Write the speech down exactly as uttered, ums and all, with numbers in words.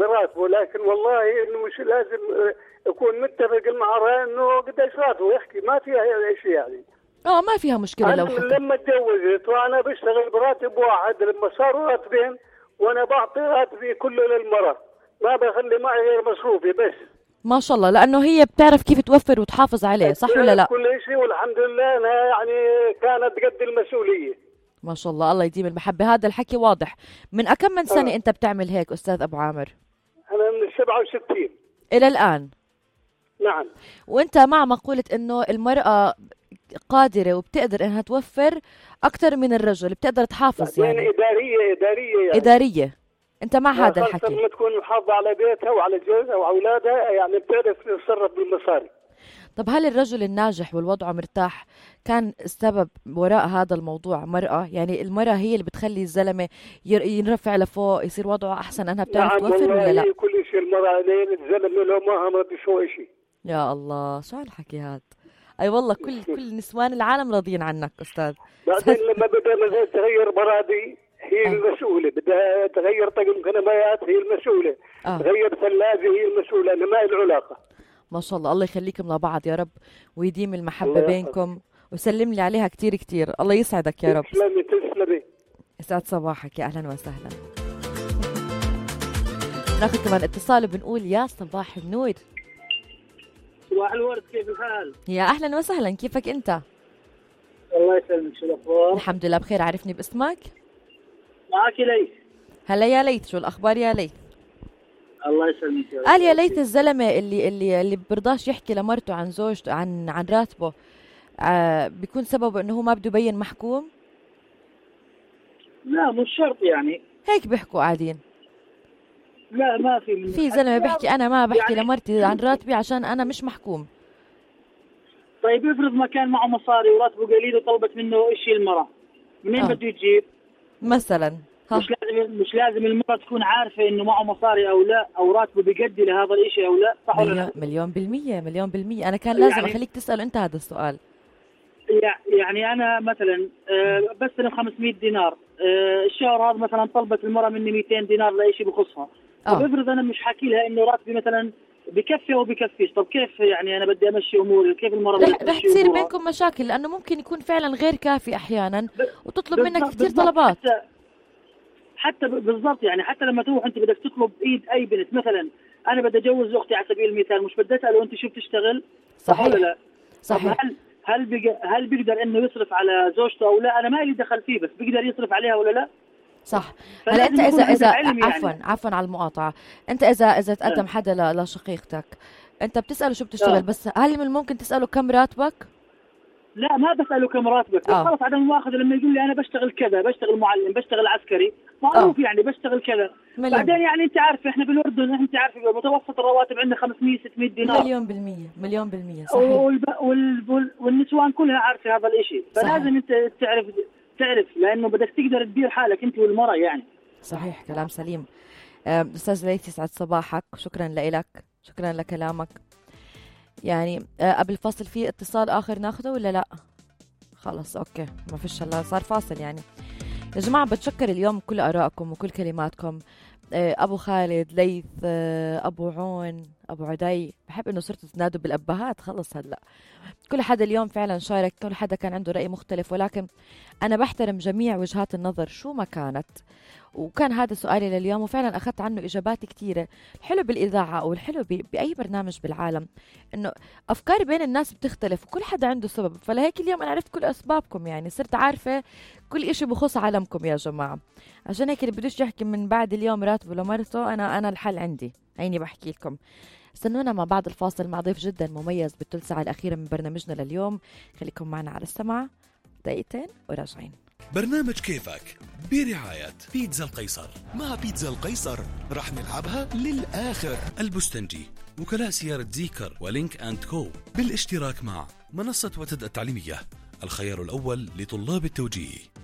براتبه، لكن والله انه مش لازم يكون متفق معه انه قديش راتبه يحكي، ما فيها شيء يعني. اه ما فيها مشكله لو حكي. حكي. لما تجوزت وانا بشتغل براتب واحد، لما صاروا راتبين وانا بعطي راتبي كله للمراه، ما بخلي معي غير مصروفي بس. ما شاء الله، لانه هي بتعرف كيف توفر وتحافظ عليه، صح ولا لا؟ كل شيء والحمد لله انها يعني كانت قد المسؤوليه. ما شاء الله، الله يديم المحبه. هذا الحكي واضح. من أكم من سنه آه. انت بتعمل هيك استاذ ابو عامر؟ انا من سبعة وستين الى الان. نعم. وانت مع مقوله انه المراه قادره وبتقدر انها توفر اكثر من الرجل، بتقدر تحافظ يعني, يعني اداريه اداريه يعني. اداريه. انت مع هذا الحكي؟ لما تكون محافظه على بيتها وعلى جوزها واولادها، يعني بتعرف تتصرف بالمصاري. طب هل الرجل الناجح والوضع مرتاح كان السبب وراء هذا الموضوع مرأة؟ يعني المرأة هي اللي بتخلي الزلمة ينرفع لفوق، يصير وضعه أحسن أنها بتعرف نعم توفر ولا لا؟ كل شيء المرأة لين الزلمة لو ما هم بيسوي شيء. يا الله شو هالحكي هاد؟ أي والله كل كل نسوان العالم راضيين عنك أستاذ. بعدين لما بدها مثلا تغير برادي هي آه. المسؤولة، بدها تغير طقم كنبايات هي المسؤولة، آه. تغير ثلاجة هي المسؤولة، أنا ما لي علاقة. ما شاء الله، الله يخليكم لبعض يا رب ويديم المحبة بينكم ويسلم لي عليها كتير كتير. الله يسعدك يا رب. تسلمي تسلمي. يسعد صباحك، يا أهلا وسهلا. ناخذ كمان اتصال وبنقول يا صباح النور. صباح الورد، كيف الحال؟ يا أهلا وسهلا، كيفك أنت؟ الله يسلمك، شو الأخبار؟ الحمد لله بخير. عرفني باسمك؟ معك ليث. هلا يا ليث، شو الأخبار يا ليث؟ الله يسلمك يا رب. قال يا ليث الزلمة اللي اللي اللي برضاش يحكي لمرته عن زوجته عن عن راتبه، آه بيكون سببه انه هو ما بده يبين محكوم؟ لا مش شرط يعني. هيك بيحكوا قاعدين. لا ما في من في زلمة بيحكي انا ما بحكي يعني لمرتي عن راتبي عشان انا مش محكوم. طيب افرض ما كان معه مصاري وراتبه قليل وطلبت منه شيء المرأة، منين آه. بده يجيب؟ مثلا ها. مش لازم مش لازم المرأة تكون عارفة انه معه مصاري او لا، او راتبه بيقدي لهذا الاشي او لا، صح ولا لا؟ مليون بالمية مليون بالمية. انا كان لازم يعني اخليك تسأل انت هذا السؤال. يعني انا مثلا بستلم خمسمية دينار الشهر، هذا مثلا طلبت المرأة مني مئتين دينار لأي شيء بخصها. طب افرض انا مش حاكي لها انه راتبي مثلا بكفي او بكفيش، طب كيف يعني انا بدي امشي اموري؟ كيف المرأة رح, رح تصير بينكم مشاكل، لانه ممكن يكون فعلا غير كافي احيانا وتطلب منك كثير طلبات. حتى, حتى بالضبط يعني حتى لما تروح انت بدك تطلب ايد اي بنت، مثلا انا بدي اجوز اختي على سبيل المثال، مش بدي اساله انت شو بتشتغل؟ صحيح ولا لا؟ صحيح. هل هل بيق... هل بيقدر انه يصرف على زوجته او لا؟ انا ما لي دخل فيه، بس بيقدر يصرف عليها ولا لا؟ صح. هلا انت اذا اذا عفوا يعني. عفوا على المقاطعه، انت اذا اذا تقدم حدا لشقيقتك انت بتساله شو بتشتغل، بس هل من الممكن تساله كم راتبك؟ لا ما بساله كم راتبك، آه. خلص عدم المؤاخذه لما يقول لي انا بشتغل كذا، بشتغل معلم، بشتغل عسكري، معروف آه. يعني بشتغل كذا. مليون. بعدين يعني انت عارف احنا بالاردن، انت عارف متوسط الرواتب عندنا خمسمية ستمية دينار. مليون بالمية مليون بالمية صحيح. والب... وال... والنسوان كلها عارفه هذا الاشي، فلازم انت تعرف تعرف لانه بدك تقدر تدير حالك انت والمراه يعني. صحيح كلام سليم. استاذ ليث يسعد صباحك، شكرا لك، شكرا لكلامك. يعني قبل فاصل في اتصال اخر ناخده ولا لا؟ خلص اوكي ما فيش، هلا صار فاصل. يعني يا جماعه بتشكر اليوم كل ارائكم وكل كلماتكم. ابو خالد، ليث، ابو عون، ابو عدي، بحب انه صرتوا تنادوا بالابهات خلص. هلا كل حدا اليوم فعلا شارك، كل حدا كان عنده راي مختلف، ولكن انا بحترم جميع وجهات النظر شو ما كانت. وكان هذا سؤالي لليوم، وفعلا أخذت عنه إجابات كثيرة. الحلو بالإذاعة أو الحلو بأي برنامج بالعالم إنه أفكار بين الناس بتختلف وكل حدا عنده سبب. فلهيك اليوم أنا عرفت كل أسبابكم، يعني صرت عارفة كل إشي بخص عالمكم يا جماعة. عشان هيك اللي بدوش يحكي من بعد اليوم راتبه لمرته، أنا أنا الحل عندي، عيني بحكي لكم. استنونا مع بعض الفاصل مع ضيف جدا مميز بالثلث ساعة الأخيرة من برنامجنا لليوم. خليكم معنا على السمع دقيقتين وراجعين. برنامج كيفك برعاية بيتزا القيصر. مع بيتزا القيصر رح نلعبها للآخر. البستنجي، وكلاء سيارة زيكر ولينك أند كو، بالاشتراك مع منصة وتد التعليمية، الخيار الأول لطلاب التوجيه.